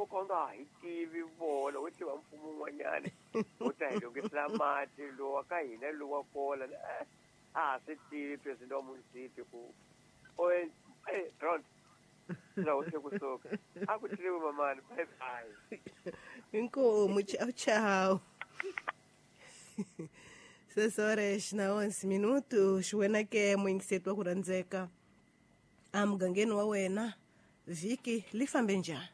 wo ka u nga ha yi tivi vona wo tiva mfumo wun'wanyana wo ta hi lunghisela mati lowa ka hina lowa kola a ha swi tivi president wa munisipi ku Ron la kusuka a ku tliwi mamani bye bye. Inkomo, tchau tchau. 6 horas na 11 minutos. Wena ke muyingiseti wa ku rhandzeka emugangeni wa wena vhiki li fambe njhani?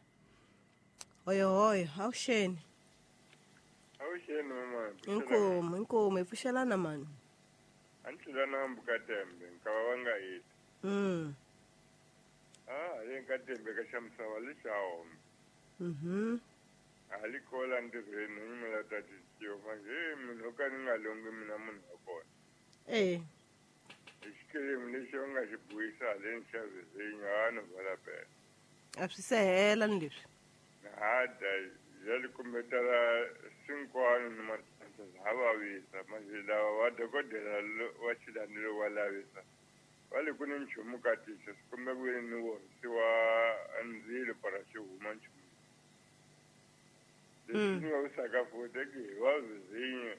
Hoyohoyo, avuxeni. Avuxeni mama. Inkomo, inkomo, hi pfuxelana mani. A ni tlula nambu ka tembe nkava va nga heti. Ah, le ka tembe ka xa misava li xa hombe. A li kola ntirhweni ni mi la ta titiwa manje munhu o ka ni nga longi mina munhu wa kona. Hi xikelemu lexi va nga xi buyisa haleni xa vhizinyo a no vala pela. A swi se hela ni leswi. Hada ya li kumbetela sinkwano ni matsanza ha vavisa manje lava va dokodela wa xilandelo wa lavisa. Va le ku ni nchumu ka tihlo swi kumbe ku ve ni worisiwa ndzilo para xi huma nchumu. Leswi ni vavisaka futhi i ku hi va vhizinyo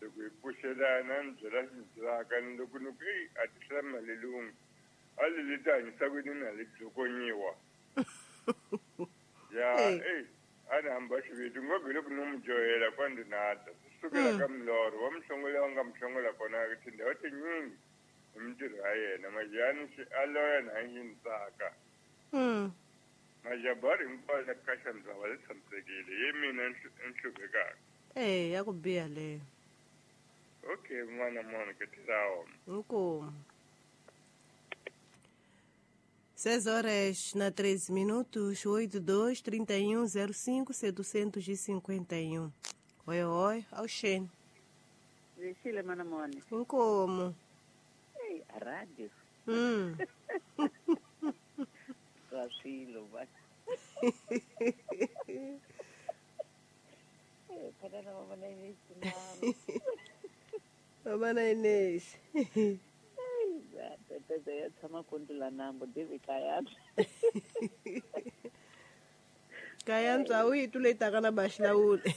loko hi pfuxelana ni byela xi ni byelaka ni loko ni ku eyi a ti hlaya mali lungu a li leti hanyisa ku yini na li dzokonyiwa. Ya eyi a ni hamba xiviti ngopfu hi loko ni n'wi dyohela kwa ndzi nata swi sukela ka milorho wa muhlongola wa nga muhlongola kona tindhawu tinyingi hi mintirho ya yena majani a loya na yi ni tsaka. Majabari hinkwayo ya ka xandzava li tshamisekile ye mina ni hluphekaka. Ya ku biha leyo. Okay n'wana mona ke tirawo. Inkomo. 6 horas na 13 minutos, 82 31 05 751. Oi, oi, avuxeni. Vexile mana mone. Inkomo. Ei, a rádio. Swa swilo va. Phela na mama na Inês mama. Mama na Inês. Tata ya tshama kondula nambo David Kayana. Kayana a wu yi tule taka na baxilawule.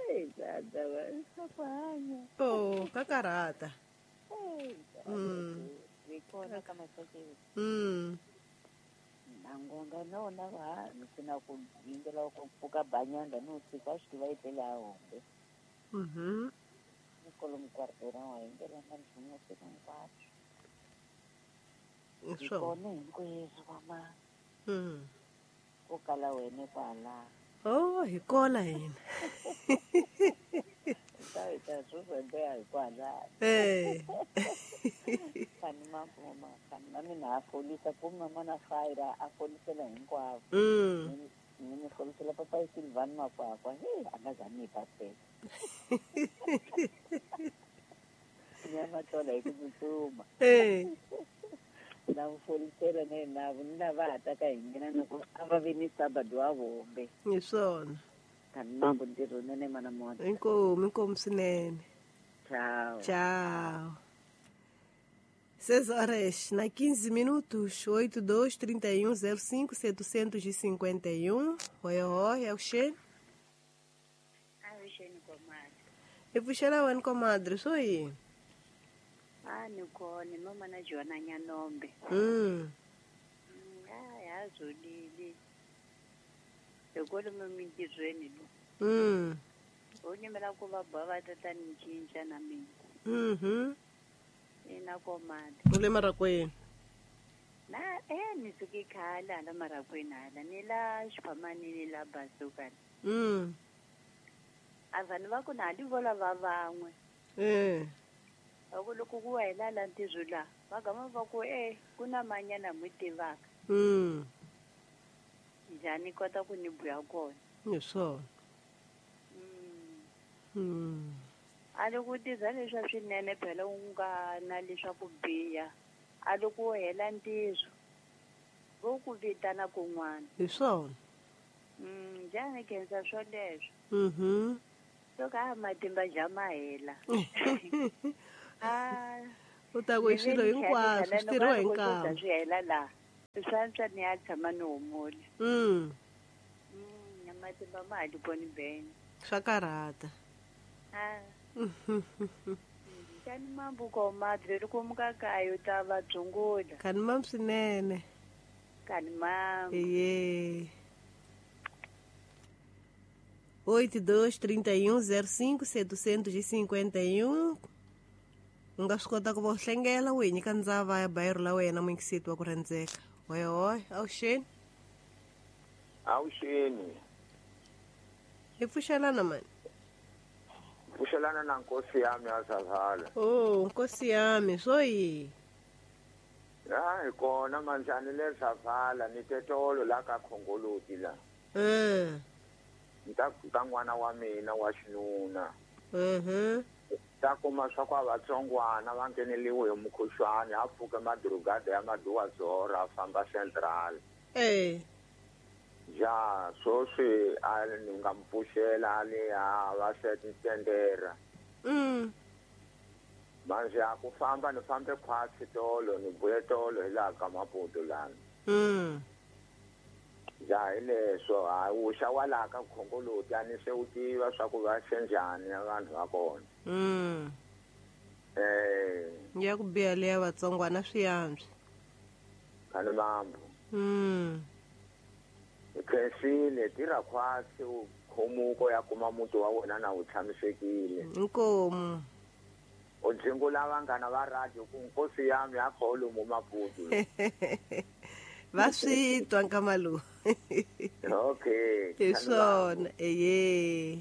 Ei, tata va swa ku hanya. Oh, ka karhata. Hi kona ka masakeni. Nangonga nona va ni sina ku yingela ku pfuka banyanga no tshika swi tiva etlela a hombe. Ni kolomu kwartera wa yingela na nchumu siku hinkwaswo. Hi kona hinkwenu mama. Ko kala wena kwala. Oh, hi kona hina. Ta swo hi kwala. Kani mama kani na mina a folisa ku mama na fire a folisela hinkwavo. Ni mi folisela papa Silvan Makwakwa. Hey, a nga za ni pasela. Ni ya matola hi ku tsutsuma. Na folisela na na na va ha ta ka hi nghena na ku a va vi ni sabado wa vombe. Hi swona. Kani mambo ntirho nene mana mona. Inkomu, inkomu swinene. Tchau. Tchau. 6 horas na 15 minutos, 82 31 05 751. Oi, oi, avuxeni. Avuxeni comadre. Hi pfuxela wena comadre, swo yini? A ni kona, mama na Jona Nyanombe. A ha zolile. Hi kwalomu mintirhweni lo. Ho nyimela ku va ba va tata ni cinca na mina. Ina comadre. U le marakweni? Na ni suke khale hala marakweni hala ni la xiphamanini la bazukani. A vanhu va ku na li vola va van'we. Va ku loko ku hela la ntirho la va gama va ku ku na manyana mi tivaka. Njhani kota ku ni buya kona. Hi swona. A loko tirha leswa swinene phela u nga na leswaku biha a loko u hela ntirho vo ku vitana kun'wana. Hi swona. Njhani khensa swoleswo. Loko a matimba ja ma hela. U ta ku swilo hinkwaswo swi tirhiwa hi nkarhi. Swi hela laha. Swantswa ni ya tshama ni humula. Na matimba ma ha li koni bene. Swa karhata. A. Kani mambuko madre loko mukakayo ta va dzungula. Kani mam swinene. Kani mam. Iye. 82 31 05 751. U nga swi kota ku va u hlengela u hi nyika ndzava ya bayiro la wena muyingiseti wa ku rhandzeka. Hoyohoy, avuxeni. Avuxeni. Hi pfuxelana mani? Pfuxelana na nkosi yami ya Savala. Oh, nkosi yami, swo yi? Ya, hi kona manjhani le Savala ni tetolo la ka Khongoloti la. Ni ta ka n'wana wa mina wa xinuna. Ta kuma swa ku a vatsongwana va ngheneliwe hi mukhuhlwani a pfuke madurugada ya maduwazora a famba central. Ja, sweswi a ni nga mi pfuxela a le a va tendera. Manje a ku famba ni fambe khwatsi tolo ni vuye tolo hi laha ka Maputo lani. Ja, hi leswo a wuxa wa laha ka Khongoloti a ni se u tiva swa ku va xe njhani vanhu va kona. Ya ku biha leya vatsongwana swi antswa. Kani mambo. Hi khensile tirha khwatsi u khomuko ya kuma muti wa wena na wu tshamisekile. Inkomu. U dzingula vanghana va radio ku nkosi yami ya kholomu Maputo. Va swi twa nkama lowu. Okay. Hi swona, eye.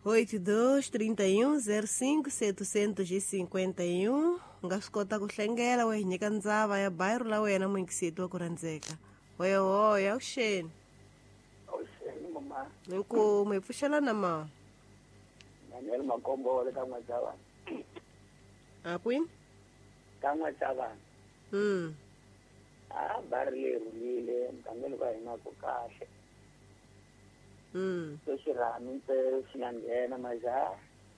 82 31 05 751. U nga swi kota ku hlengela wa hi nyika ndzava ya bayiro la wena muyingiseti wa ku rhandzeka. Hoyohoy, avuxeni. Avuxeni mama. Inkomu, hi pfuxelana ma? Daniel Makombo wa le ka N'wachavana. A kwini? Ka N'wachavana. A bari leri rhulile mugangeni wa hina ku kahle. Sweswi rhami ntsena xi nga nghena majaha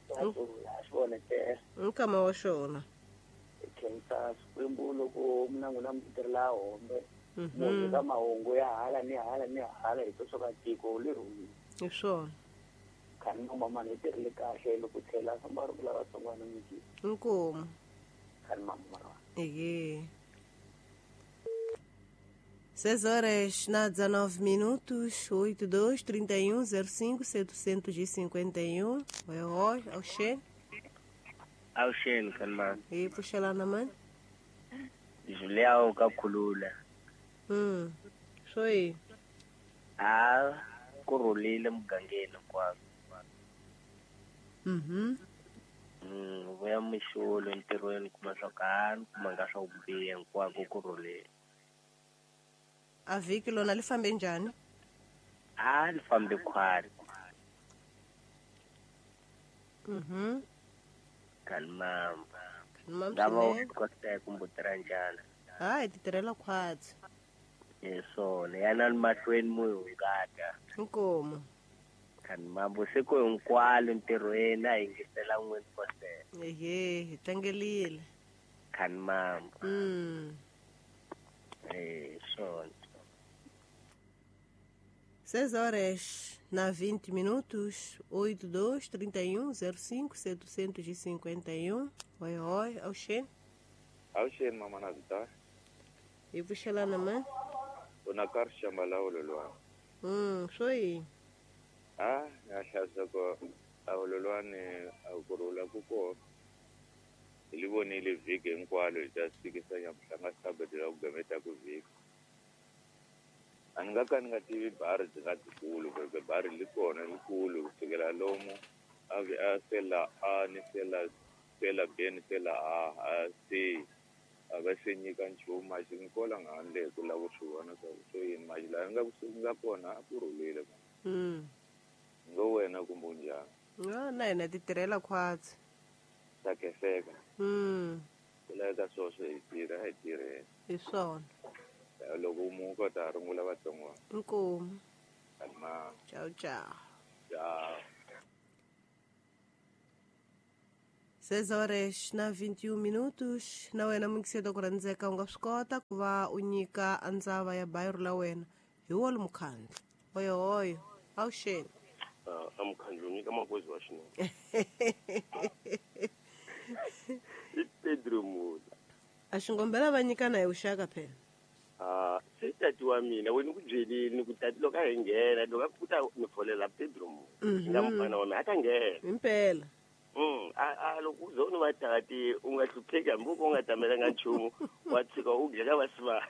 va rhula a xi vonetela. Nkama wa xona. Hi khensa Xikwembu loko mina n'wina mi tirhela hombe. Munhu ka mahungu ya hala ni hala ni hala hi to swa tiko leri rhulile. Hi swona. Khani mama ni tirhile kahle loko tlhela famba ri vula vatsongwana miki. Inkomu. Khani mama. Eye. 6 horas na 19 minutos, 82 31 05 751. Oi, oi, avuxeni. Avuxeni kanma. Hi pfuxelana mani? Juliao ka Khulula. Swo yi? A ku rhulile mugangeni hinkwako. Vuya mixolo entirhweni kuma swa ku a ni kumanga swa ku biha hinkwako ku rhulile. A vhiki lona li fambe njhani? A li fambe khwari. Kani mamba. Kani mamba Lava swinene. u kota ku mbutirha njhani? Hayi, ti tirhela khwatsi. Hi swona, yanani mahlweni mu hi hungata. Inkomu. Kani mambo siku hinkwalo ntirhweni a yingisela n'wini kosela. Ehe, hi tlangerile. Kani mambo. Swona. 6 horas na 20 minutos, 82 31 05 751. Oi, oi, avuxeni. Avuxeni mama na vita. Hi pfuxelana mani? U na karhi xamba la ololwana. Swo yi? A ya hlayisa ku a ololwani a ku rhula ku kona. Hi li vonile vhiki hinkwalo hi ta fikisa nyamuhla nga sabedela ku gameta ku vhiki. A ni nga ka ni nga tivi bari byi nga byikulu kumbe bari li kona likulu kusukela lomu a vi a sela A ni sela sela B ni sela A a C a va se nyika nchumu maxi ni kola nga handle hi ku lava ku swi vona swa ku swo yini maxi laha nga nga kona a ku rhulile. Ngo wena kumbe unjhani? Na hina ti tirhela khwatsi. Ta khenseka. Ku laveka swoswo hi tirha hi tirheni. Hi swona. Loko mu kota rungula vatsongwana. Inkomu. Kalma. Ciao ciao. Ciao. 6 horas na 21 minutos. Na wena muyingiseri ku rhandzeka u nga swi kota ku va u nyika ndzava ya bayiro la wena hi wolo mukhandlu. Hoyo hoyo, awuxeni. A mukhandlu nyika magozi wa xinuna. I Pedro Mula. A xingombela va nyikana hi vuxaka phela. Se tati wa mina wena ku byelini ku tati loko a hi nghena loko a ku ta ni folela Pedro Mula. Nga mfana wa mina a ta nghena. Impela. A loko u zona va tati u nga hlupheki hambi u nga tamelanga nchumu wa tshika u gela va sivana.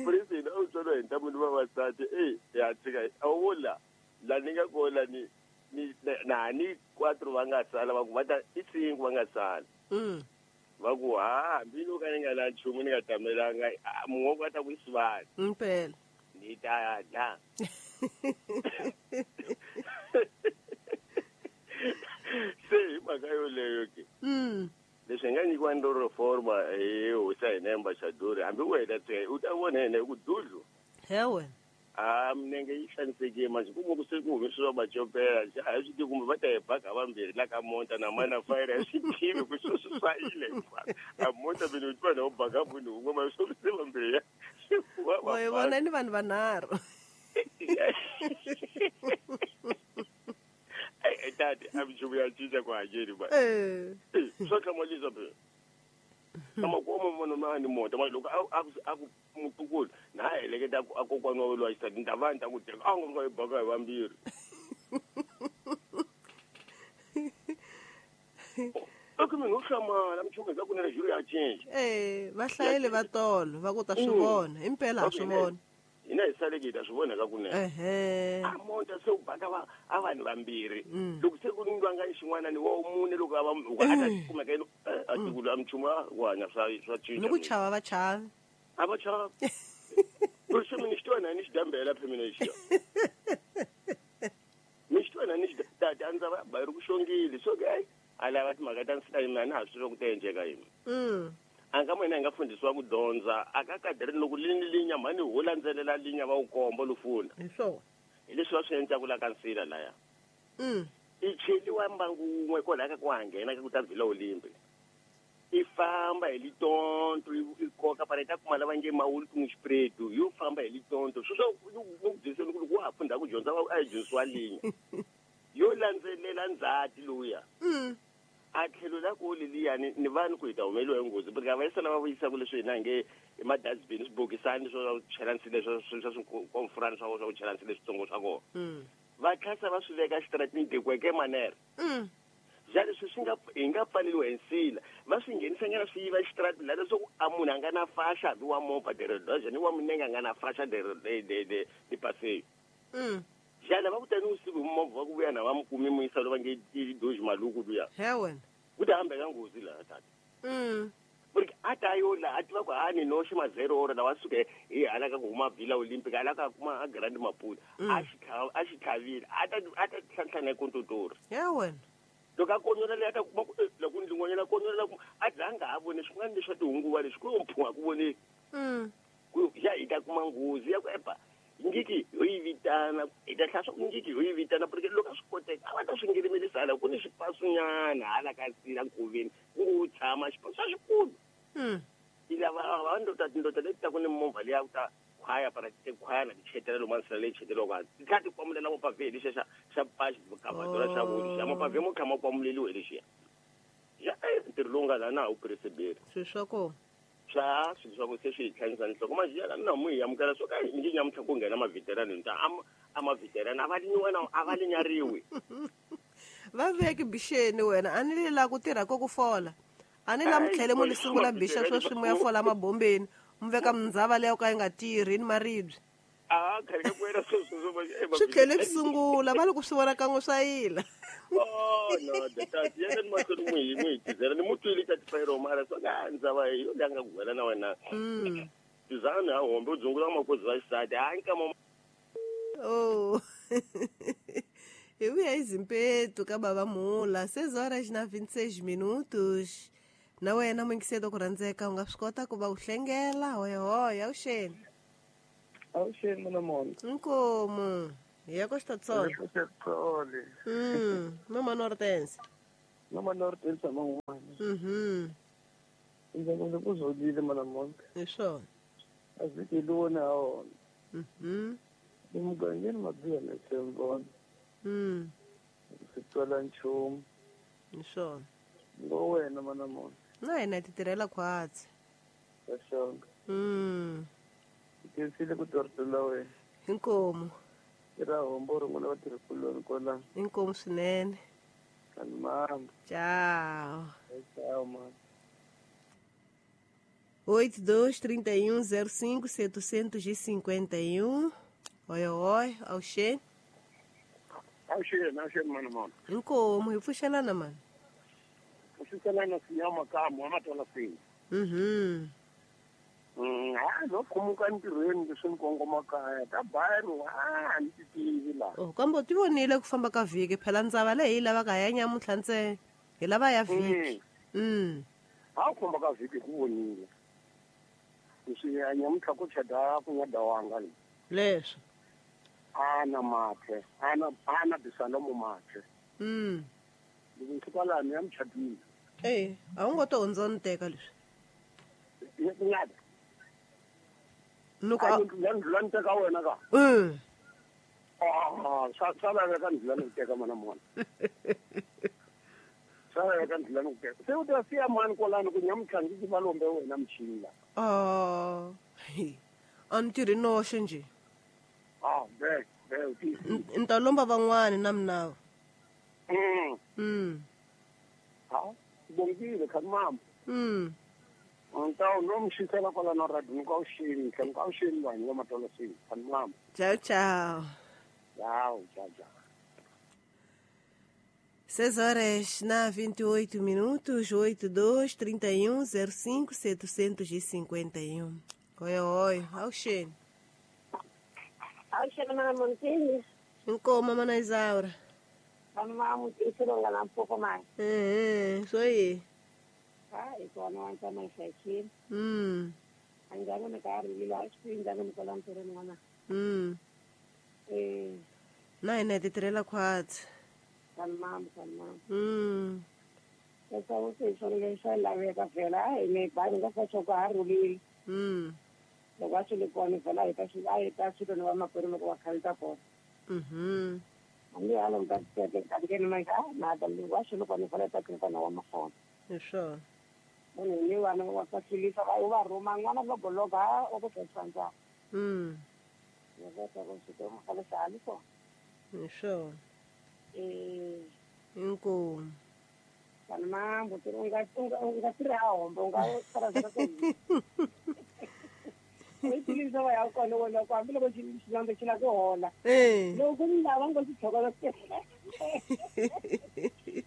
President a wu tswariwa hi ntamu ni vavasati ya tshika a wu vula la ni nga kola ni na ni 4 va nga sala va ku va ta i 5 va nga sala. Va ku ha hambi loko ni nga na nchumu ni nga tamelanga mun'we va ta ku sivana. Impela. Ni ta dla. Se hi mhaka yoleyo ke. Leswi nga nyikiwa ndo reforma hi hosi ya hina ambassador hambi wena tse u ta vona yena hi ku dudlu. Hewe. A minenge yi hlanisekile manje kuma ku se ku humesiwa macopela a hi swi tivi kumbe va ta hi baka vambirhi la ka monta na mana fayira hi swi tivi ku sweswo swa yile hinkwaswo. A monta mina u twa na u baka munhu wun'we ma swo se vambirhi ya. Hi vona ni vanhu vanharhu. Tati a minchumu ya cinca ku hanyeni ba. Swo hlamulisa phela. Kama munhu ma ni mota ma loko a ku mutukulu na heleketa a kokwana wa loyi xisati ni ta va ni ta ku teka a nga hi baka hi vambirhi. Aka mina u hlamala minchumu hi ku na juru ya cinca. Va hlayele va tolo va ku ta swi vona impela ha swi vona. Hina hi saleke hi ta swi vona ka kunene. A monta se u baka va a vanhu vambirhi. Loko se ku ndwanga xin'wana ni wa mune loko a va a ta kumeka yena a tikulu a minchumu ku hanya swa cinca. Ni ku chava va chavi. A va chava. Ku se mina xi twa ni xi dambela phe mina xi. Ni xi twa ni xi tata a ndza va bayiri ku xongile so ke a lava timhaka ta nsila mina na ha swi ku ta endleka yini. A nga mina hi nga fundisiwa ku dyondza a ka kadere loko lini linya mhani ho landzelela linya va wu komba lufuna. Hi swona. Hi leswi va swi endlaku la ka nsila laya. I cheliwa mbangu wun'we kwalaha ka ku ha nghena ka ku ta Vila Olimpi. I famba hi litonto i koka para i ta kuma lava nge mawulu ku n'wi yo famba hi litonto sweswo ku byiseni ku loko wa ha funda ku dyondza a hi dyondzisiwa linya. Yo landzelela ndzhati lowuya. A tlhelo la ku leliyani ni vanhu ku hi ta humeliwa hi nghozi porque a va yisa lava vuyisaka leswi hina hi nge i ma-dustbin swibokisani swo chela nsila swa swikomfurani swa swa ku chela nsila leswitsongo swa kona. Va tlhasa va swi veka xitaratini dekweke manere. Ja leswi swi nga hi nga pfaleliwa hi nsila va swi nghenisanyana swi yiva xitaratini laha leswaku a munhu a nga na faxa hambi wa movha deredoja ni wa minenge a nga na faxa de passeio. Jana va ku tani usiku hi movha va ku vuya na va mi kumi muyisa lo va nge i doji maluku luya. He wena. Ku ta hambeka nghozi laha tata. Porque a ta yo la a tiva ku ha ni noxi ma 0 ora lawa suke hi hala ka ku huma Vila Olympic hala ka kuma a Grand Maputo. A xi tlhavile a ta tlhantlhana hi kontotori. He wena. Loko a konyola leyi a ta kuma ku loko ndlingonyela konyola ku a dlanga nga ha voni swin'wana leswi swa tihunguva leswi ku yo mphuha ku voneki. Ku ya hi ta kuma nghozi ya ku epa. Ngiki yo yi vitana hi ta hlaya swa ku ngiki yo yi vitana porque loko a swi koteka a va ta swi ngirimelisa hala ku ni xipasunyana hala ka nsila nkoveni ku ngo tshama xipasu xa xikulu. I lava va ndota tindota leti ta ku ni movha leya ku ta khwaya para ti khwaya na ti chetela lomu nsila leyi cheteriwaka hansi ti tlhela ti kwamulela mapavhe lexiya xa paxi kavadora xa vuli xa mapavhe mo kha ma kwamuleliwe lexiya. Ya ntirho lowu nga laha na ha wu pereseberi. Swilo swa kona. Swa swilo swa ku se swi hi tlhanyisa nhloko manje yala na mu hi amukela swo ka nge nyamuntlha ku nghena mavhiterani ni ta a mavhiterani a va linyiwa na a va linyariwi. Va veki bixeni wena a ni li la ku tirha ko ku fola a ni la mi tlhele mu li sungula bixa sweswi mu ya fola mabombeni mu veka mindzava leyo ka yi nga tirhi ni maribye. A khale ka ku wena sweswo swi tlhele swi sungula va loko swi vona kan'we swa yila. Oh no, tati yena ni mahlweni n'wi hi tizela ni mu twile ka tifayiro mara swa ka ndzava yo leyi nga ku wela na wena. Tizana ha hombe u dzungula makozi va xisati ha nkama. Oh. Hi vuya hi Zimpetu ka baba Mula 6 horas na 26 minutos. Na wena muyingiseri ku rhandzeka u nga swi kota ku va u hlengela hoyohoyo awuxeni. Awuxeni mina mona. Inkomu. Hi ya ko Xitatsolo. Xitatsolo. Mama Nortense. Mama Nortense man'wana. Ndzi ku zolile mana Monka. Hi swona. A vhiki lona ha wona. Emugangeni mabiha na tshembona. Swi twala nchumu. Hi swona. Ngo wena mana Monka. Na hina hi ti tirhela khwatsi. Ka xonga. Khensile ku twa rito la wena. Inkomu. I ra hombo rin'wana vatirhikuloni kwalano. Inkomu swinene. Kani mamba. Tchau. Tchau, mano. 82 31 05 751. Oi, oi, auxê. Auxê, auxê, mano, mano. Inkomu, hi pfuxelana mani. Pfuxelana sinyama kamu, amatola sini. Ha no khumuka ntirhweni leswi ni kongoma kaya ta bayero a ni ti tivi la. Oh, kambe u ti vonile ku famba ka vhiki phela ndzava leyi hi lavaka ya nyamuntlha ntsena hi lava ya vhiki. Ha ku famba ka vhiki ku vonile leswi ya nyamuntlha ku chada ku nga dawanga le. Leswo. Ana mathe, ana bisalomo mathe. Loko ni fika laha ni ya muchadini. Eh, a wu ngo to hundza ni teka leswi. Ngada. Nuko ndlula ni teka wena ka. Swa laveka ndlula ni ku teka mana mona. Swa laveka ndlula ni ku teka. Se u ta siya mani kwalano ku nyamuntlha ndzi va lombe wena muchini la. A ni tirhi noxe njhe. Be u tiyisile. Ni ta lomba van'wani na minawu. Ha, bongile khani mama. Ntawu no mi xisela kwalano radio ni ka uxini tlhela ni ka uxini vanhu va matolo sini khani mama. Tchau, tchau. Tchau, tchau, tchau. 6 horas na 28 minutos, 82 31 05 751. Oi, oi, auxene. Auxene, mana Montini. Inkomo, mana Isaura. Vamos um pouco mais. Isso aí. Ah, iko na wanta mai shaki. An gano na ka ri la xi ndanga ni kola ntirho n'wana. Na hina hi ti tirhela khwatsi. Tamam, tamam. Esa u se swona swa laveka vhela a hi me ba nga fa swa ku ha rhulile. Loko a swi le kona vhela hi ta swi a hi ta swilo ni vamakwerhu loko va khalita kona. Hambi hala mi ta teke ka ngeni ma ka na ta loko a swi le kona vhela hi ta tirhisa na wa makona. Hi swona. Munhu ni vana va fasilisa va va rhuma n'wana loko loko ha wa ku tsandza. Loko ta ku swi toma khala sali ko. Hi swona. Inkomu. Kana mambo u nga tirha hombo u nga sala sala ku. U tilisa va ya kona wena ku hambi loko xilondza xi la ku hola. Loko ku lava ngo xi tlhokela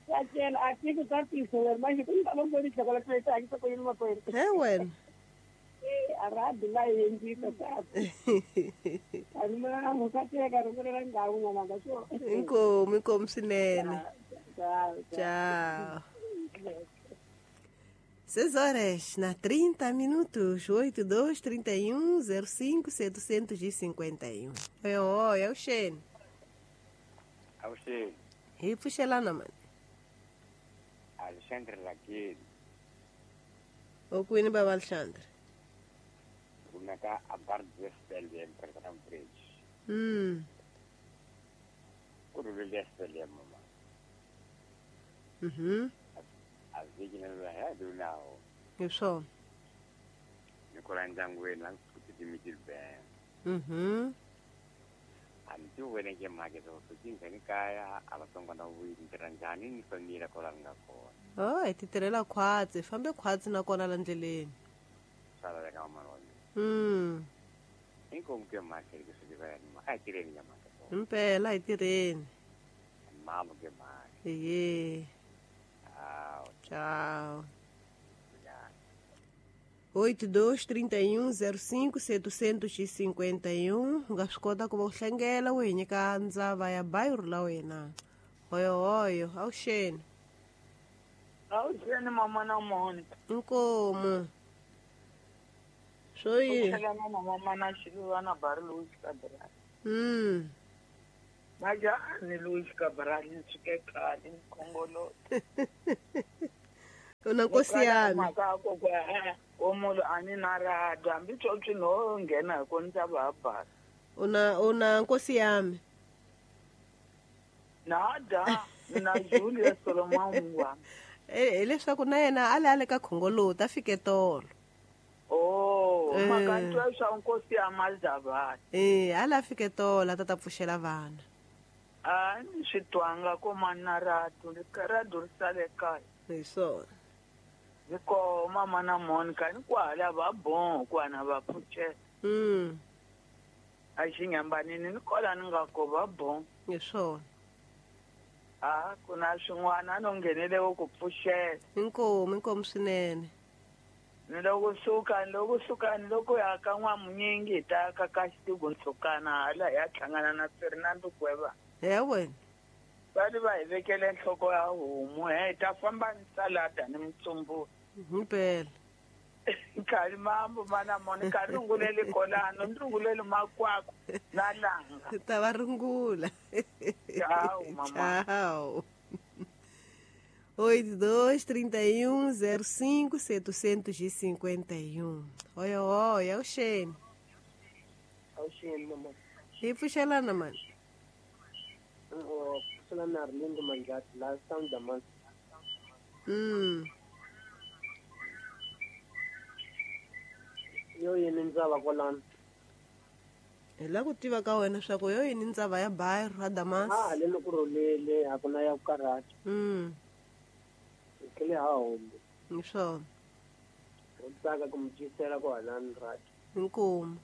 ya cela a tiko ta tiso wena manje ku lava ngo xi tlhokela ku ta hakisa ku yini makwerhu. He wena. A ra dula yendlisa ta. Ani mambo ka teka ri vula ndhawu n'wana ka swo. Inkomu, inkomu swinene. Tchau. Tchau. 6 horas na 30 minutos, 82 31 05 751. Oi, oi, auxene. Auxene. Hi pfuxelana mani. Alexandre Rakeli. U kwini baba Alexandre? Kumeka a Bardwestelem Program Bridge. Ku rhulile Stelem mama. A vhiki na lwa ya dunawo. Hi swona. Ni kula ndyangwini la ku titimiti bank. A ni ti wena ke mhaka so swi ni kaya a va tsongwana vuyi ni tirha njhani ni famila kwala ni nga kona. Oh, hi ti tirhela khwatsi, fambe khwatsi na kona la ndleleni. Swa laveka mama wa mina. Inkomu ke mhaka leswi swi tiva ni a hi tirheni ya mhaka. Impela hi tirheni. Mama ke mhaka. Ehe. Tchau. 82 31 05 751. U nga swi kota ku va u hlengela u hi nyika ndzava ya bayiro la wena. Hoyo hoyo, auxeni. Auxeni mama na Monica. Inkomu. Swo yini? Auxelana na mama na Xiluva na Barilosi ka Brad. Majani Luis Cabral nsuke khale Khongolo. Una nkosi yami. Maka ko omunhu ani na radio hambi tsotsi no nghena hi ko ndza va basa. Una nkosi yami. Nada na Julius Solomon wa. Leswaku na yena a le ka Khongolo ta fike tolo. Oh, maka swa nkosi ya Mazavana. A la fike tolo a ta pfuxela vana. A ni swi twanga ko mana radio le ka radio ri sale kaya. Hi swona. Hiko mama na Monica ni kwala va bon kwana va pfuxela. A xi nyambanini ni kola ni nga ko va bon. Hi swona. A ku na swin'wana no nghenele ku pfuxela. Inkomu swinene. Ni loko suka loko ya ka n'wamunyingi hi ta ka ka xitigu ntsukana hala hi ya hlangana na Fernando Kweva. He wena. Va ri va hi vekele nhloko ya homu he ta famba ni salada ni mutsumbu. Himpela. Nkarhi mambo mana Monica runguleli kolano ni runguleli makwako na langa. Ta va rungula. Tchau, mamãe. Tchau. 82 31 05 751. Oi, oi, é o Shane. É o Shane, mamãe. E pfuxelana, mano. Pfuxelana Arlindo Manjati, last time the month. Yo yini ndzava kwalano. Hi la ku tiva ka wena swa ku yo yini ndzava ya Bairro ra Damas. A le loko rhulele a ku na ya ku karhata. Tlhele ha hombe. Hi swona. U tsaka ku mi cisela ku halani radio. Inkomu.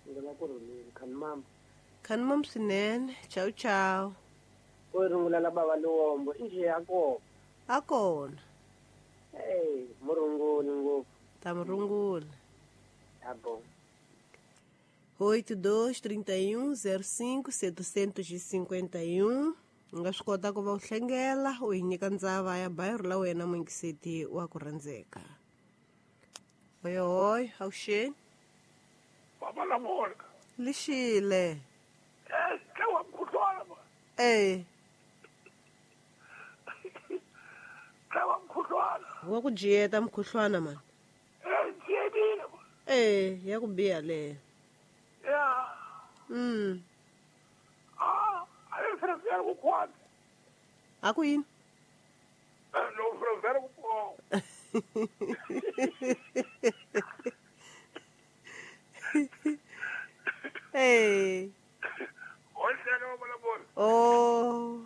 Ndzi la ku rhulele khanimama. Khanimama swinene. Ciao ciao. U rungula la bava Luwombo inje ya kona. A kona. Hey, murunguli ngopfu. Ta murungula. Tá bom. 82 31 05 751. U nga swi kota ku va u hlengela u hi nyika ndzava ya Bairro la wena muyingiseti wa ku rhandzeka. Oyohoy, avuxeni. Baba la Monica. Lixile. Tlawa mkhuhlwana ba. Tlawa mkhuhlwana. Wa ku jiyeta mkhuhlwana man. Jiyetile ba. Ya ku biha leyo. Ya. A ku yini? No frevera ku po. Oh.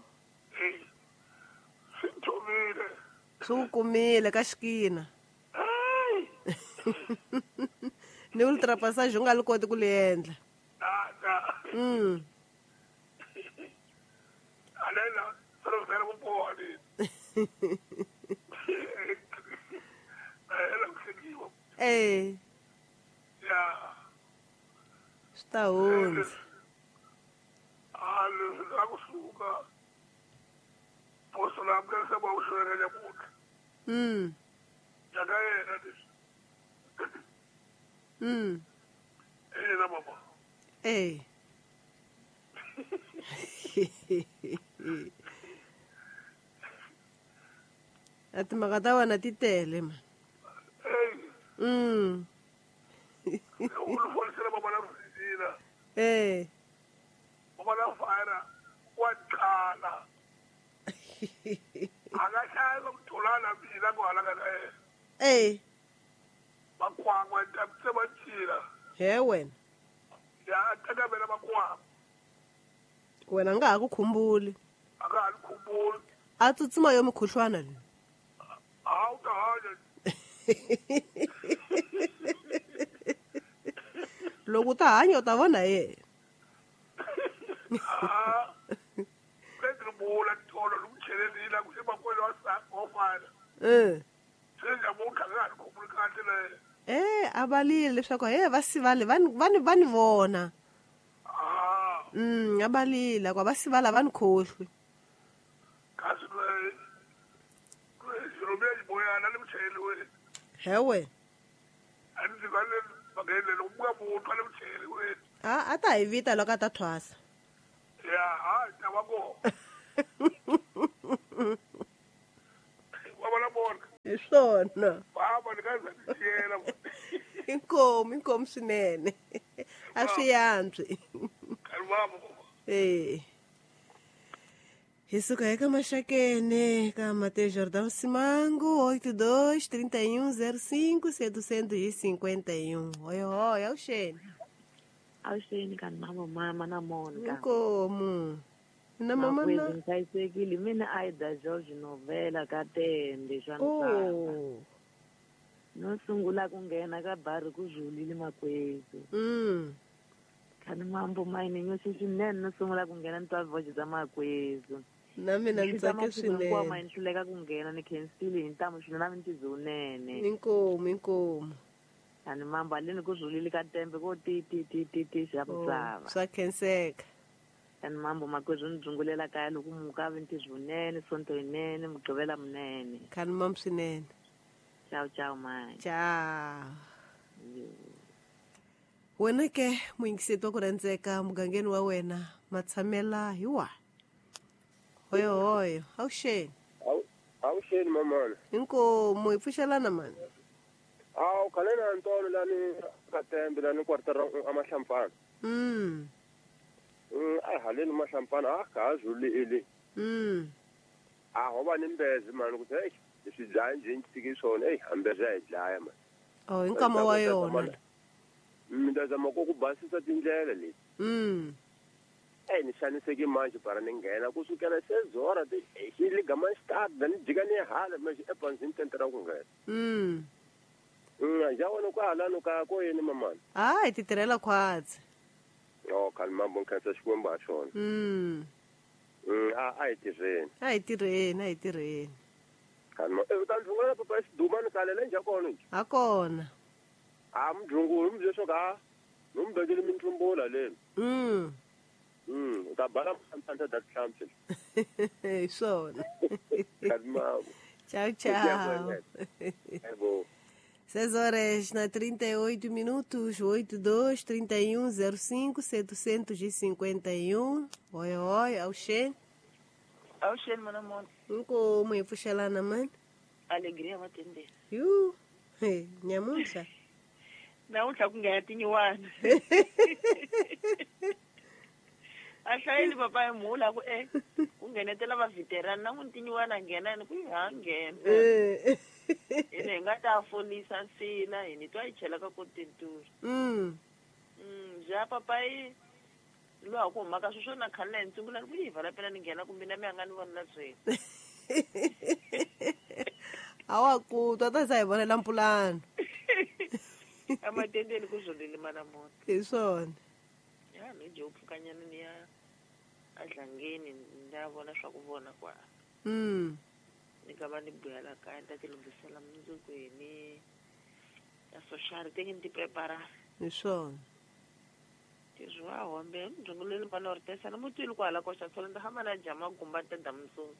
Swi ku kumile ka xikina. Ni ultra passage u nga li koti ku li endla. Swi ta hundza. A timhaka ta wena ti tele ma. He wena. Wena nga ha ku khumbuli. A tsutsuma yo mukhuhlwana leyi. Loko u ta hanya u ta vona yena. A valile leswaku he va sivale va ni vona. A valile ku va sivala va ni khohlwi. He wena. A ta hi vita loko a ta thwasa. Ya, a ta va kona. Wa vona bona. Hi swona. Baba ni ka za tiyela. Inkomu swinene. A swi yantswi. Eh. Hi suka eka Maxakene ka Mateus Jordão Simango 82 31 05 751. Oi, oi, avuxeni. Avuxeni ka mama na Monica. Inkomu. Na mama na. Nhlayisekile mina Aida George Novela ka Tende swa misava. No sungula ku nghena ka bari ku zulile makwezu. Khani mambo mayini nyosi swinene no sungula ku nghena ni twa voice za makwezu. Na mina ni tsake swinene. Kwa ni hluleka ku nghena ni khensile hi ntamu swinene na mi ntizunene. Inkomu. Khani mambo aleni ku zulile ka Tembe ko ti ti ti ti ti xa misava. Swa khenseka. Khani mambo makwezu ni dzungulela kaya loko muka vi ntizunene sonto yinene mugqivela munene. Khani mambo swinene. Ciao ciao mai. Ciao. Wena ke muyingiseti wa ku rhandzeka mugangeni wa wena matshamela hi wa. Hoyo hoyo, avuxeni. Avuxeni mamana. Inkomu hi pfuxelana mani. Awu khale na Ntolo lani ka Tembe lani kwartara a Mahlampfana. A haleni Mahlampfana a ka ha zulile. A ho va ni mbezi mani ku hey leswi dlaya njhe ni tshiki swona hey hambeza hi dlaya mani. Oh hi nkama wa yona. Mi ta zama ku basisa tindlela leti. Ni xaniseke manje para ni nghena ku sukela sezora ti hi ligama start ni jika ni hala manje epanzini tentera ku nghena. Ja wena ku halano ka ko yini mamana? Hayi ti tirhela khwatsi. Oh khani mambo nkhensa Xikwembu ha xona. A hi tirheni. A hi tirheni. Khani ma u ta ndlungula papa xiduma ni kalela njha kona nje. Ha kona. A mdlungulu mi leswo ka no mi bekele mintlumbula leni. U ta bala mphantha da hlampfi. Hi swona. Khani mambo. Tchau, tchau. É bom. 6 horas na 38 minutos, 82 31 05 751. Oi, oi, avuxeni. Avuxeni mana Mona. Inkomu hi pfuxelana mani. Alegria matende. Yu, hey, nyamuntlha. Namuntlha ku nghena tinyiwana. A hlayeli papa hi mhula ku ku nghenetela va veteran na n'wi tinyiwana nghena ni ku ha nghena. Ene hi nga ta folisa nsila hi ni twa yi chela ka kotenturi. Ja papa yi lowa ku humaka sweswo na khale na hi ntsungula ni ku yi vala pela ni nghena kumbe na mi a nga ni vonela byeni. A wa ku twa ta za hi vonela mpulano. Amatendeni ku zolile mana Mona. Hi swona. Ya ni je upfukanyana ni ya adlangeni ni ya vona swa ku vona kwa. Ni ka va ni buyela kaya ni ta ti lunghisela mundzuku hi ni ya social te ni ti prepara. Hi swona. Tizwi wa hombe mdzunguleli mana uri tesa na mutwile kwala koxa tshola ndzi hamba na jama gumba ta damutsungu.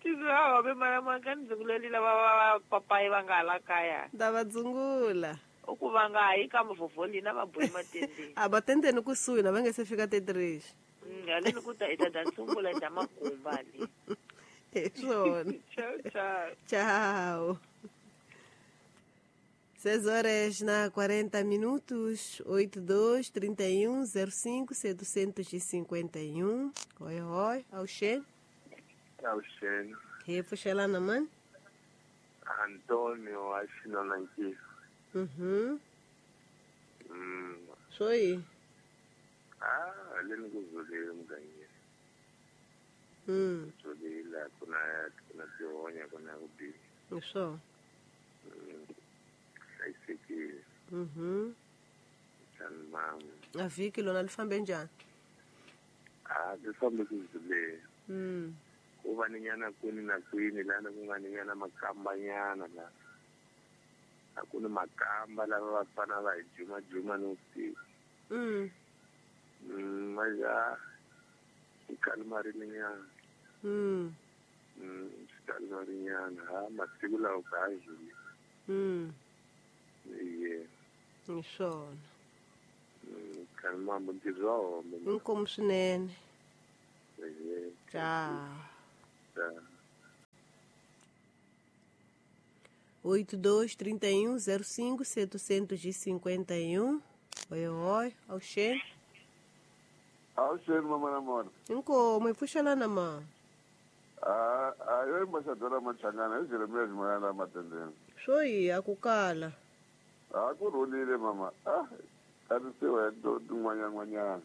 Tizwi wa hombe mana maka ni dzunguleli lava va papayi va nga hala kaya. Nda va dzungula. U ku va nga hayi ka mavhovholi na va bohi matendeni. A va tendeni kusuhi na va nge se fika tetirexi. Haleni ku ta hi ta sungula hi ta magumba le. Hi swona. Ciao, ciao. Tchau. 6 horas na 40 minutos, 82 31 05 751. Oi, oi, avuxeni. Avuxeni. Hi pfuxelana mani. Antonio a Xinonankiso. Swo yi? Haleni ku zulile mugangeni. Zulile ku na tihonya ku na ku biha. Hi swona. Hlayisekile. Njhani mama? A vhiki lona li fambe njhani? A li fambe ku zuleni. Ku va ni nyana kwini na kwini lana ku nga ni nyana makambanyana la. A ku ni makamba lava va fana va hi jumajuma ni vusiku. Maja swi kalumarinyana. Swi kalumarinyana ha masiku lawa ka ha zuli. Iye. Hi swona. Khani mambo ntirho wa hombe. Inkomu swinene. Tchau. 82 31 05 751. Oi, oi, Alxê. Alxê, mamãe namora. Inkomu, puxa lá na mão. A eu embaixadora Machangana, eu Jeremias Moyana matendendo. Soi, akukala. Akurulile mama. Ah, kadisiwe do ngwanya ngwanya.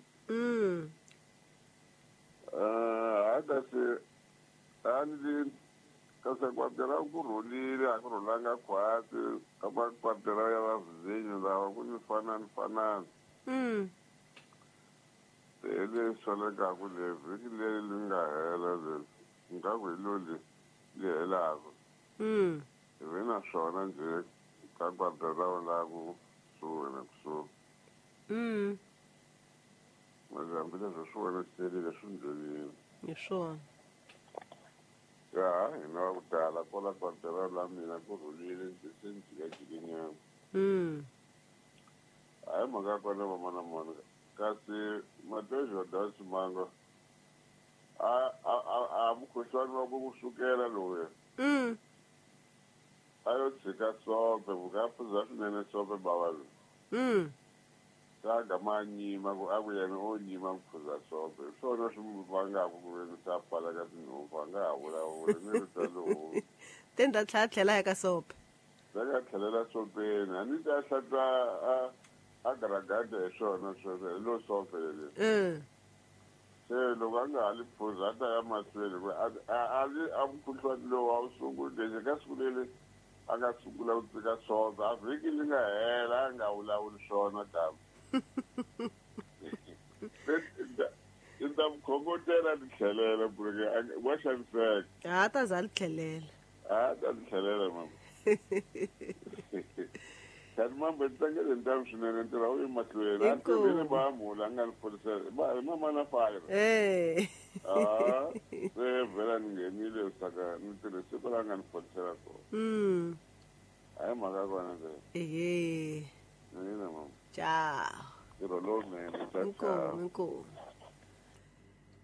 Akase andi kase kwatela kurulile akurulanga kwati kapa kwatela ya vazinyo lawa kunifana nifana. Ele soleka kule vhiki leri li nga hela leri ngaku hi loli li helaka. Hi ve na swona njhe ka kwatela la kusuhi na kusuhi. Mas hambileswi swi wena swi swi ndleleni. Hi swona. Ya, hina va ku tala kwala kwatela la mina ku rhulile ndzi se ni jikajikinyana. Hayi mhaka ya kona vamana mona kasi Mateo Jordan Simango a mukhuhlwani wa ku sukela lowuya. A yo tshika sope vuka phuza swinene sope bava loyi. Ka ma nyima ku a ku yena o nyima ku phuza sope hi swona swi n'wi vangaka ku ve ni ta pfala ka tinhompfu a nga ha vulavuli ni rito lowu. Te ni ta tlhela tlhela ya ka sope. Ta ka tlhelela sopeni a ni ta hlatwa a garagada hi swona sweswo hi lo sope leri. Se loko a nga ha li phuza a ta ya mahlweni ku a li a mukhuhlwani lowu a wu sunguli ka siku leri a nga sungula ku tshika sope a vhiki li nga hela a nga vulavuli swona kambe. I ta mukhongotela ni tlhelela ku ri wa xaniseka. A ta za li tlhelela. A ta li tlhelela mama. Kanti mambo tlangele ntamu swinene ntirho wu emahlweni. A tivile va mhula a nga ni phorisela. Va mama na fire. Ah, se vhela ni nghenile saka ni tirhe siku la nga ni phorisela kona. Hayi mhaka kona leyo. Ehe. Nina mama. Tchau. Ntirho lowunene. Inkomu, inkomu.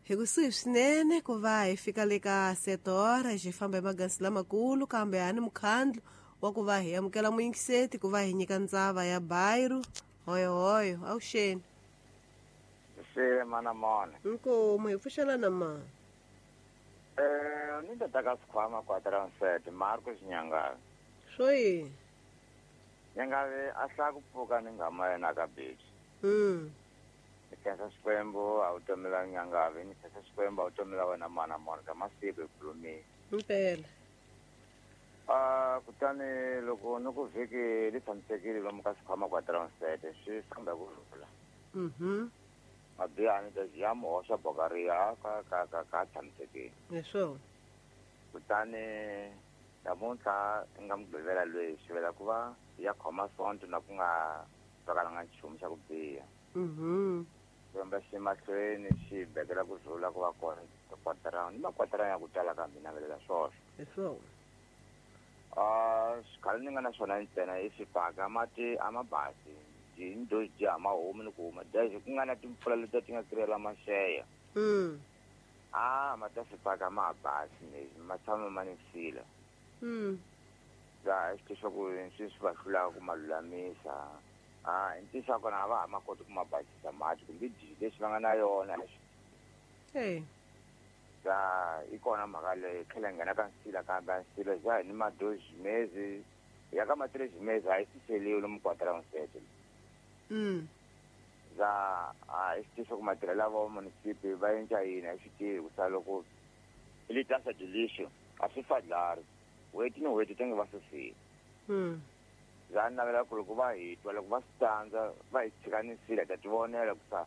Hi kusuhi swinene ku va hi fika le ka 7 horas hi famba hi magansi lamakulu kambe a ni mukhandlu wa ku va hi amukela muyingiseti ku va hi nyika ndzava ya Bairu. Hoyo hoyo, avuxeni. Se mana mona. Inkomu, hi pfuxela na ma. Ni ta ka sikhwama kwa transit Marco Xinyangana. Swo yini? Nyangave a hlaya ku pfuka ni ngama yena ka beach. Ni khensa Xikwembu a wu tomela Nyangave, ni khensa Xikwembu a wu tomela wena mana mona ka masiku hi khulumile. Impela. Kutani loko ni ku vhiki li tshamisekile lomu ka sikhwama kwa transit swi famba hi ku rhula. Mabihani ta ya muhoxa bokariya ka tshamisekile. Hi swona. Kutani namuntlha i nga mugqivela loyi swi vela ku va ya khoma sonto na ku nga twakalanga nchumu xa ku biha. Xikwembu xi mahlweni xi bekela ku rhula ku va kona kwatara ni makwatara ya ku tala ka mina velela swoswo. Hi swona. Xikhale ni nga na swona ntsena i xifaka mati a ma basi ni do dya ma homu ni ku huma daxe ku nga na timpfula letiya ti nga kirela maxeya. Ma ta xifaka ma ha basi lexi ma tshama ma ni sila. Ya xi leswaku swi swi va hlulaka ku ma lulamisa. I ntiyiso wa kona a va ha ma koti ku ma basisa mati kumbe dyi lexi va nga na yona. Ya i kona mhaka leyi tlhela nghena ka nsila kambe nsila ja hi ni madozi mezi ya ka matirezi mezi a yi siseliwi lomu kwatara nsete. Ya a i swi ku matirhela va munisipi va endla yini a swi tivi ku sa loko li tasa dilixo a swi fadlari n'hweti ni n'hweti ti nge va susile. Ya navela ku loko va hi twa loko va swi tandza va hi tshika ni nsila hi ta ti vonela ku sa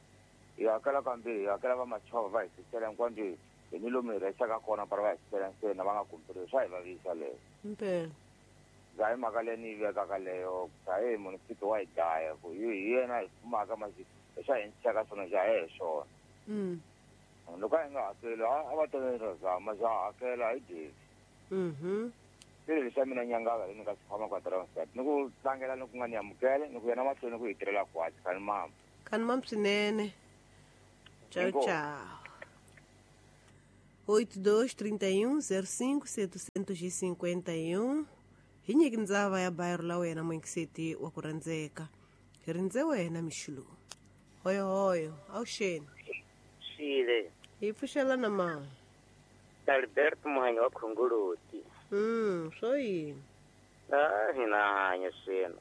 hi hakela kambirhi hi hakela va machova va hi susela hinkwandyo hi ni lomu hi rhexaka kona para va hi susela ntsena va nga kumperiwi swa hi vavisa leyo. Impela. Ya hi mhaka leyi ni yi vekaka leyo ku sa hey munisipi wa hi dlaya ku hi yena hi fumaka masi swa hi endlisaka swona ja hi swona. Loko a hi nga hakeli a va tolela zama ja hakela a hi dyeki. Swilo leswi mina Nyangava ni nga sikhwama kwa transit ni ku tlangela ni ku nga ni amukele ni ku yena mahlweni ku hi tirhela kwatsi khani mama. Kani mam swinene. Tchau, tchau. 82 31 05 751. Hi nyiki ndzava ya bairro la wena muingiseti wa ku rhandzeka. Hi rindze wena mixulu. Hoyo hoyo, awuxeni. Xile. Hi pfuxelana ma. Alberto Muhanyi wa Khongoloti. Swo yini? Ah, hina hanya swino.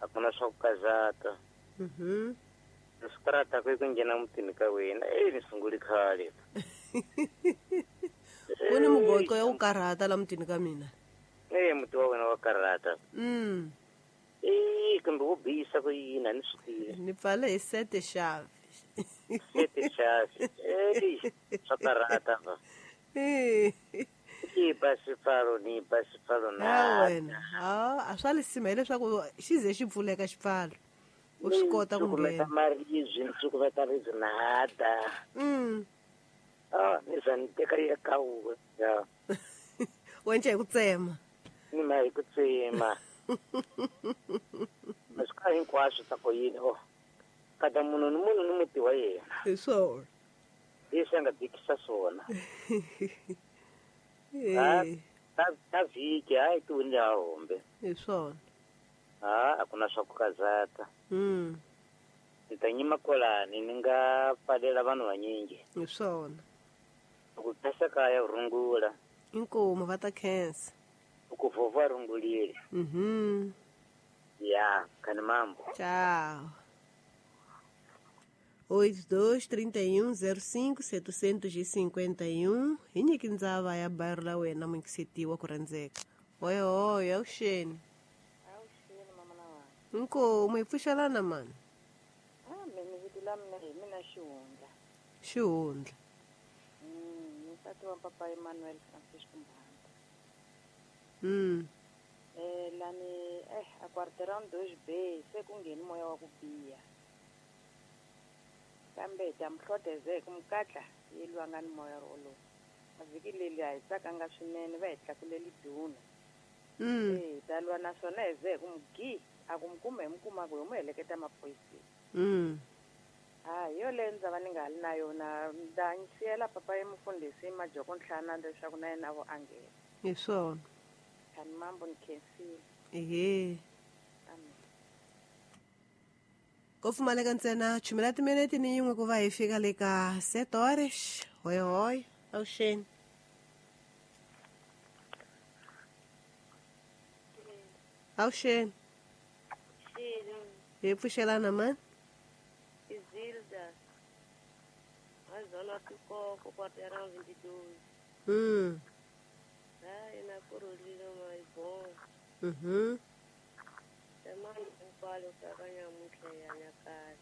A ku na swa ku kazata. Ni swi karata ku nghena mutini ka wena. Ni sunguli khale. Ku ni mugoqo ya ku karhata la mutini ka mina. Muti wa wena wa karhata. Kambe wo bihisa ku yini a ni swi tivi. Ni pfale hi sete xavi. Sete xavi. Swa karhata va. Ni ba xipfalo ni ba xipfalo na. Wena. A swa lisima hileswaku xi ze xi pfuleka xipfalo. U swi kota ku nghena. Maribye ni cukumeta ribye na hada. Ni za ni teka ya ka wun'we. Wenca hi ku tsema. Ni ma hi ku tsema. Maswi hinkwaswo ta ku yini o. Kada munhu ni munhu ni muti wa yena. Hi swona. Leswi a nga bikisa swona. Ta vhiki hayi ti wini ha hombe. Hi swona. A ku na swa ku kazata. Ni ta nyima kwalani ni nga pfalela vanhu vanyingi. Hi swona. Ku phesa kaya rungula. Inkomu va ta khensa. Ku vova rungulile. Ya, kani mambo. Tchau. 82 31 05 751. Hi nyiki ndzava ya bairro la wena muingiseti wa ku rhandzeka. Hoyo hoyo, awuxeni. Awuxeni mama na wena. Inkomu hi pfuxelana mani. Mina vito la mina hi mina Xihundla. Xihundla. Ni nsati wa papa Emmanuel Francisco Mbanda. Lani a quarteirão 2B se ku ngheni moya wa ku biha. Kambe hi ta mi hloteze ku mukatla yi lwa nga ni moya wolowo. A vhiki leri a hi tsakanga swinene va hi tlakuleli duna. Hi ta lwa naswona hi ze hi ku mugi a ku mi kuma hi mi kumaka hi mu heleketa maphoyiseni. Yoleyo ndzava ni nga ha li na yona nda ni siyela papa emufundhisi majoko ntlhana leswaku na yena vo a nghena. Hi swona. Kani mambo ni khensile. Ehe. Amen. Ko pfumaleka ntsena chumela timinete ni yin'we ku va hi fika le ka 7 horas. Hoyo hoyo, awuxeni. Awuxeni. Hi pfuxelana mani. Izilda. Azona tikoko quarteirão 22. Ai na kurulile mai bom. Temani nkwalo ka nyamutlha ya nyakala.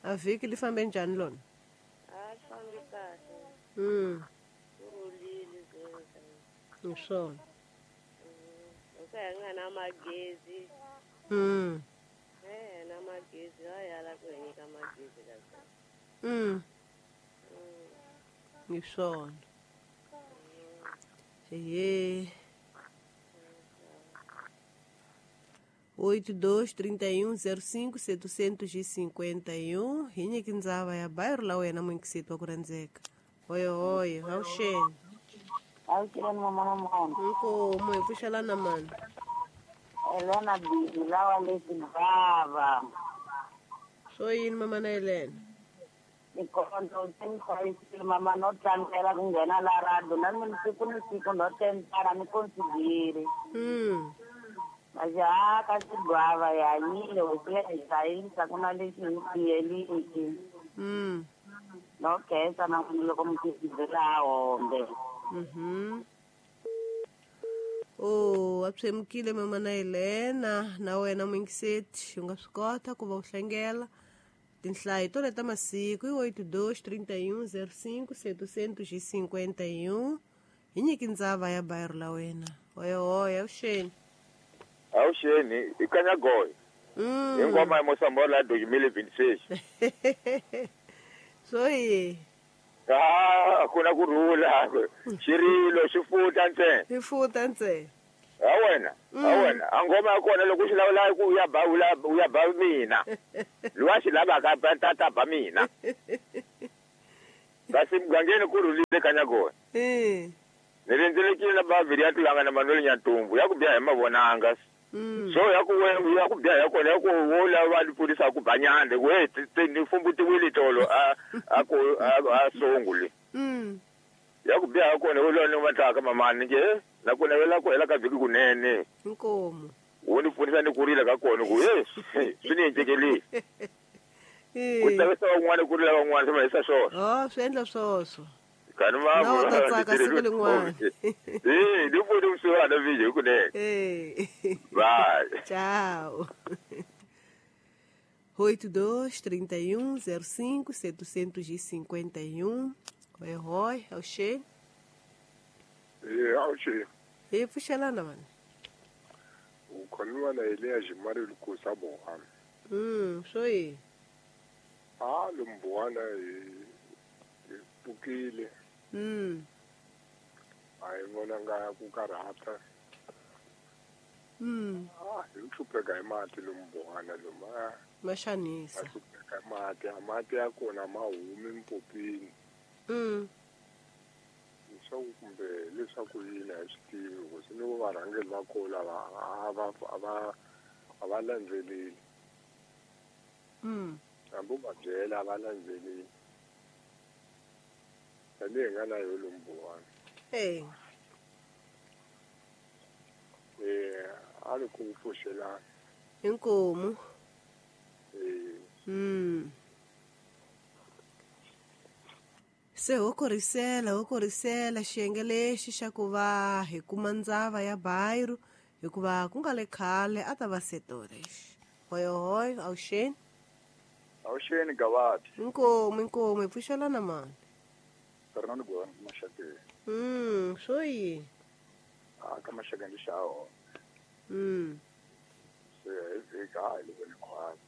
A vhiki li fambe njhani lona? A fambi kahle. Kurulile Zilda. Hi swona. Loko hi nga na magezi. Na magezi va yala ku hi nyika magezi ka swona. Hi swona. Ehe. 82 31 05 751. Hi nyiki ndzava ya bairro la wena muingiseti wa ku rhandzeka. Hoyo hoyo, awuxeni. Awuxeni mama na mama. Inkomu hi pfuxelana mani. Elena Bibi lawa leti bava. Swo yini mama na Elena? Nkonzo tshemisa mama no tlangela ku nghena la radio na mina siku ni siku no tentara ni konsidiri. Majaha ka xigwava hi hanyile hosi ya hi hlayisa ku na lexi hi biyeliki. No khensa na n'wina loko mi tizela hombe. Oh, a pshemukile mama na Elena na wena muingiseti u nga swi kota ku va u hlengela tinhlayo to leta masiku i 82 31 05 751. Hi nyiki ndzava ya bairro la wena. Hoyo hoyo, awuxeni. Awuxeni, i Kanyagoy. Hi ngoma ya Mosambola 2026. Swo yi. A ku na ku rhula. Xirilo xi futa ntsena. Xi futa ntsena. Ha wena, ha wena. A ngoma ya kona loko xi lawula ku ya ba u ya ba mina. Luwa xi lavaka ba tata ba mina. Kasi mugangeni ku rhulile ka Nyakona. Ni rindzelekile na bavhiri ya Tlulanga na Manuel Nyatumbu ya ku biha hi mavonanga. So ya ku ya ku biha ya kona ya ku wo lava va pfurisa ku ba nyande ku hey ni fumbutiwile tolo a ku a sunguli. Ya ku biha ya kona wo lwa ni matlaka mamani nge na ku navela ku hela ka vhiki kunene. Inkomu. Wo ni pfunisa ni kurile ka kona ku hey swi ni endlekele. Ku tsakisa van'wana ku rila van'wana swi mahisa swona. Oh, swi endla swoswo. Kani ma na u ta tsaka siku lin'wana. Ni pfuni kusuhana vhiki kunene. Bye. Tchau. 82 31 05 751. Oi, oi, auxe. Auxe. E pfuxelana mani. U khoniwa na Eliya Jimari Lukusa Bohana. Swo yi. A lumbuwana hi pfukile. A hi vonanga ku karhata. Hi hlupheka hi mati lumbuwana lomu. Ma xanisa. Ma hlupheka hi mati, a mati ya kona ma humi mpopini. Leswaku kumbe leswaku yini a hi swi tivi ku se ni varhangeri va kona lava a va landzeleli. Hambi u va byela a va landzeleli. Tanihi nga na yo lumbuwana. A ri ku pfuxelana. Inkomu. Se ho korisela xiyenge lexi xa ku va hi kuma ndzava ya Bairu hikuva ku nga le khale a ta va setorex. Hoyohoy, awuxeni. Awuxeni Gavati. Inkomu, inkomu, hi pfuxelana mani. Fernando Gwana Mashakeni. Swo yini? A ka Mashakeni xa hona. Se hi vhiki a hi le voni khwatsi.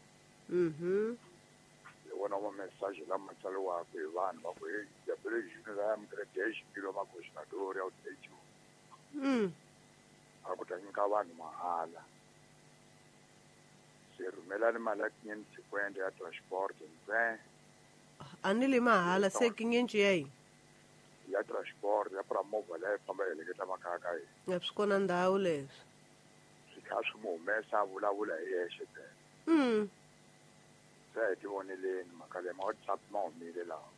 Hi vona ma message lama tsariwaka hi vanhu va ku hey jabule junior ya mgredesh kilo makoxinadori ya u A ku ta nyika vanhu mahala. Se rhumelani mali ya 550 ya transport ntsena. A ni le mahala se kinyenci ya yini? Ya transport ya pra movha leyi famba yi heleketa makaya ka hina. A swi kona ndhawu leswi. Swi tlhela swi mu humesa a vulavula hi yexe ntsena. Se a hi tivoneleni mhaka leyi ma WhatsApp ma humile laha.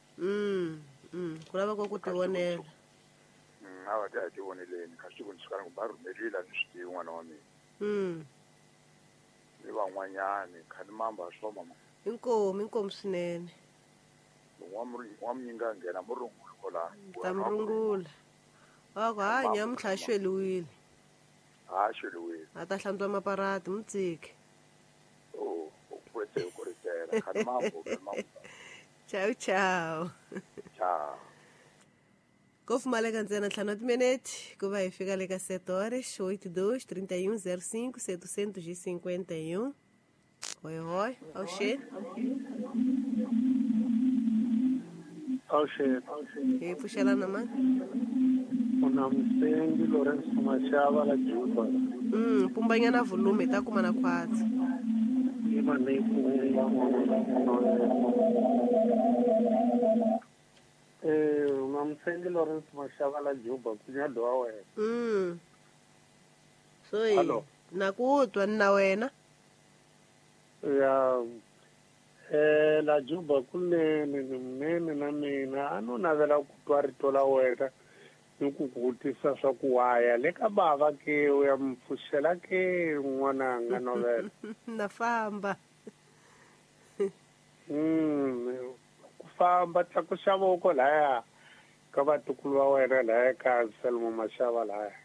Ku lava ku tivonela. A va ti a hi tivoneleni kasi ku ni suka ni ku va rhumelile a ni swi tivi n'wana wa mina. Ni van'wanyani khani mamba swo mama. Inkomu, inkomu swinene. Wa munyinga nghena murungula kola. Ta murungula. Wa ku ha nyamuntlha a xweliwile. A xweliwile. A ta hlantswa maparati mutsiki. Oh, u kwetse ku ritela khani mambo mambo. Ciao ciao. Ciao. Ko pfumaleka ntsena 5 timinete ku va hi fika le ka 7 horas 82 31 05 751. Oi, oi, awuxeni. Awuxeni. Hi pfuxelana mani? Una Msengi Lawrence Mashava la Juba. Pumbanyana volume hi ta kuma na khwatsi. Una Msengi Lawrence Mashava la Juba kunyado wa wena. So yi na ku twa na wena. Ya la Juba kunene ni munene na mina a no navela ku twa rito la wena ni ku vutisa swa ku waya le ka bava ke u ya mpfuxela ke n'wananga novela. Na famba. Ku famba tlakuxa voko laya ka vatukulu va wena laya ka Selmo Mashava laya.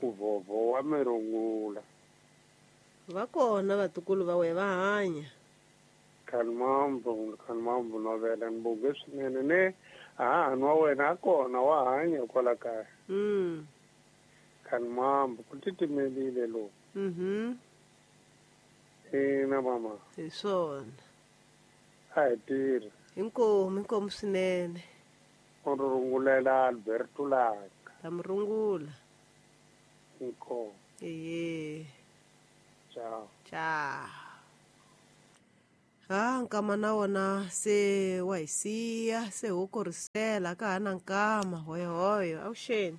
Ku vovo wa mirungula. Va kona vatukulu va wena va hanya. Khanimambo, khanimambo novela ni bonge swinene ne hahani wa wena a kona wa hanya kwala kaya. Khanimambo ku titimelile lowu. Ina mama. Hi swona. A hi tirhi. Inkomu, inkomu swinene. U ri rungulela Alberto Langa. Ta mi rungula. Inkomu. Ehe. Ciao. Ciao. Ha nkama na wona se wa hi siya se ho korisela ka ha na nkama hoyohoyo avuxeni.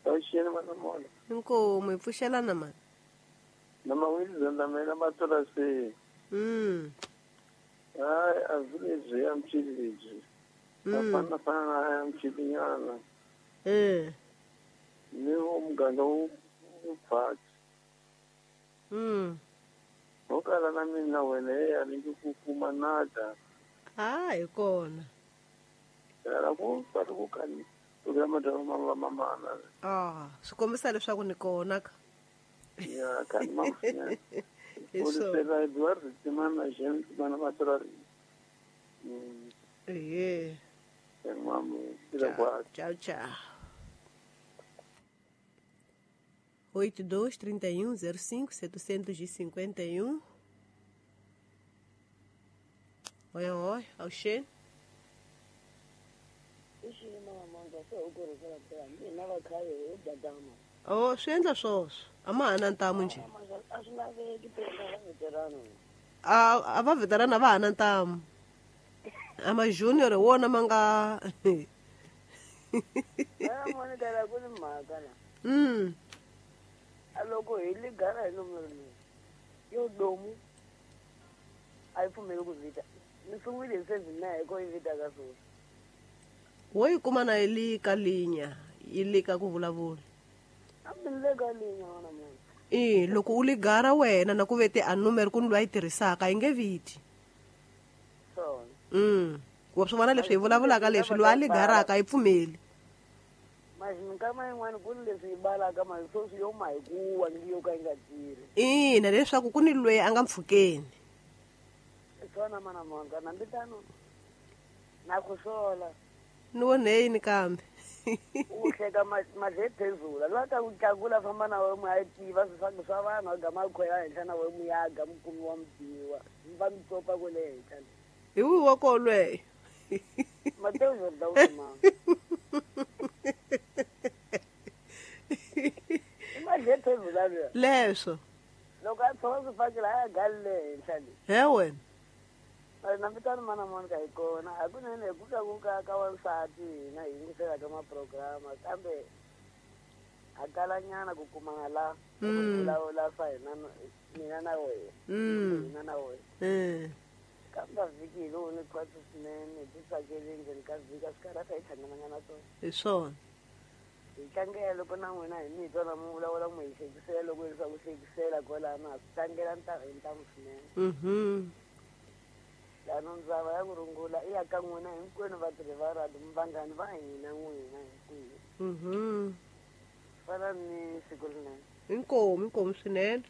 Avuxeni mana mona. Inkomu hi pfuxelana mani. Na mawili mina matora se. Hayi a village ya mchiliji. Fana fana ya mchilinyana. Ni umganga uphathi. Okala na mina wena ya ni ku kuma nada. Hayi kona. Era ku ku kani. Programa da mama mama. Ah, swi kombisa leswaku ni kona ka. Ya kan mama. Eso. Eduardo timana gente mana matora. Eh. Tchau, tchau. 82 31 05 751. Oi, oi, avuxeni. Oh, swi endla swoswo. A ma ha na ntamu njhe. A va veterana va ha na ntamu. A ma junior wona ma nga. Aloko hi ligara hi nomero leyi yo domu a yi pfumeli ku vita ni sungule hi 79 hi ko yi vita ka sweswi. Wo yi kuma na yi li ka linya yi li ka ku vulavula. Hambi ni le ka linya wona munhu. I loko u ligara wena na ku vete a numero ku ni loyi a yi tirhisaka yi nge viti. Swona. Wa swi vona leswi hi vulavulaka leswi loyi a ligaraka a yi pfumeli. Minkama yin'wana ku ni leswi yi balaka masweswi yo ma hi ku wa ngi yo ka yi nga tirhi. Ina leswaku ku ni loyi a nga mpfhukeni. Swona mana monga nambi tano na ku sola. Ni vonheyini kambe. U hleka madlethezula loyi a ta ku tlakula famba na wena mu ya tiva swifaki swa vanhu a gama a khwela henhla na wena mu ya ga mukumi wa mutiwa va mi copa kwale henhla. Hi wihi wa koho lweyo? Mateo Jordan mama. I madlethezula luya. Leswo. Loko a tshova swifaki laha a gali le henhla le. He wena. Na vitani mana Monica hi kona hakunene hi ku tlakuka ka wansati hina hi yingisela ka maprograma kambe ha kalanyana ku kumana la ku vulavula swa hina mina na wena hina na wena kambe vhiki hi lowu ni khwatsi swinene hi titsakeli ndzeni ka vhiki a swi karhata hi hlangananga na swona. Hi swona. Hi tlangela loko na n'wina hi mi twa na mi vulavula mu hi hlekisela loko hi swa ku hlekisela kwalano ha swi tlangela hi ntamu swinene. Lano ndzava ya ku rungula i ya ka n'wina hinkwenu vatirhi va radio vanghani va hina n'wina hinkwenu. Fana ni siku rinene. Inkomu, inkomu swinene.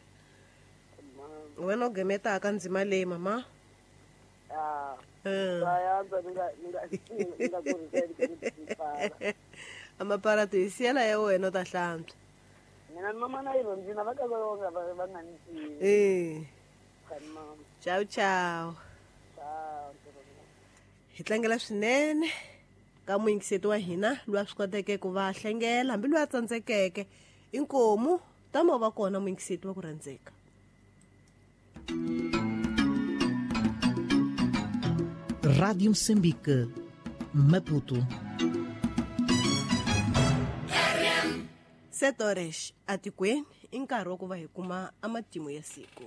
Wena u gemetaka ndzima leyi mama. Ni nga kuriseli ku pfala. Amaparati hi siyela ya wena u ta hlantswa. Mina ni mama na yi rhondzina va ka va nga ni tivi. Mama. Ciao ciao. Hi tlangela swinene ka muyingiseti wa hina loyi a swi koteke ku va hlengela hambi loyi a tsandzekeke. Inkomu tama va kona muyingiseti wa ku rhandzeka. Rádio Moçambique, Maputo. 7 horas atikweni i nkarhi wa ku va hi kuma amatimu ya siku.